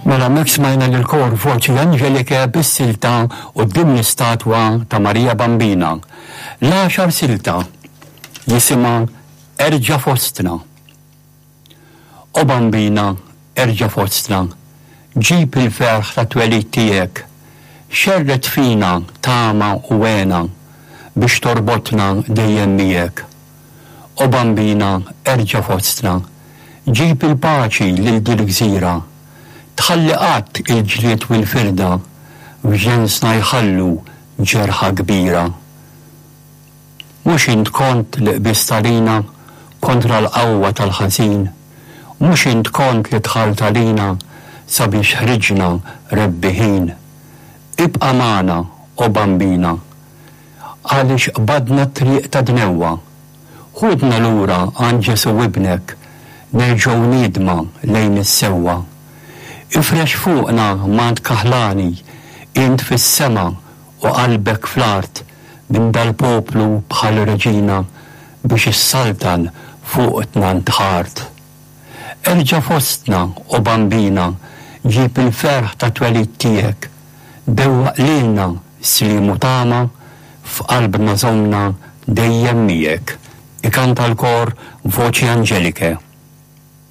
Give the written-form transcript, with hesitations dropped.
Mela hemmhekk smajna lill-kor Voci Angeliche bis-silta Quddiem l-istatwa ta' Marija Bambina. L-għaxar silta jisimha Erġa' Fostna. O Bambina, erġa' fostna, ġib il-ferħ tat-twelid tiegħek, xerred fina tama u hena biex torbotna dejjem miegħek. O Bambina erġa' fostna, ġib il-paċi lil dil-gżira. Tħalli qatt il-ġlied u l-firda f'ġensna jħallu ġerħa kbira. Mhux int kont li qbiżt għalina kontra l-qawwa tal-ħażin? Mhux int kont li dħalt għalina sabiex ħriġna rebbiħin? Ibqa' magħna, o Bambina, Għaliex qbadna t-triq tad-dnewwa. Ħudna lura għand Ġesù Ibnek, nerġgħu niedma lejn is-sewwa. Ifrex fuqna mant kaħlani, int fis-sema u qalbek fl-art, minn dal-poplu bħal reġina biex issaltan fuqtna ntħart. Erġa' fostna, o Bambina, ġib il-ferħ tat-twelid tiegħek, dewwaq lilna sliem u tama, f'qalbna żommna dejjem miegħek. Ikanta l-kor Voci Angeliche.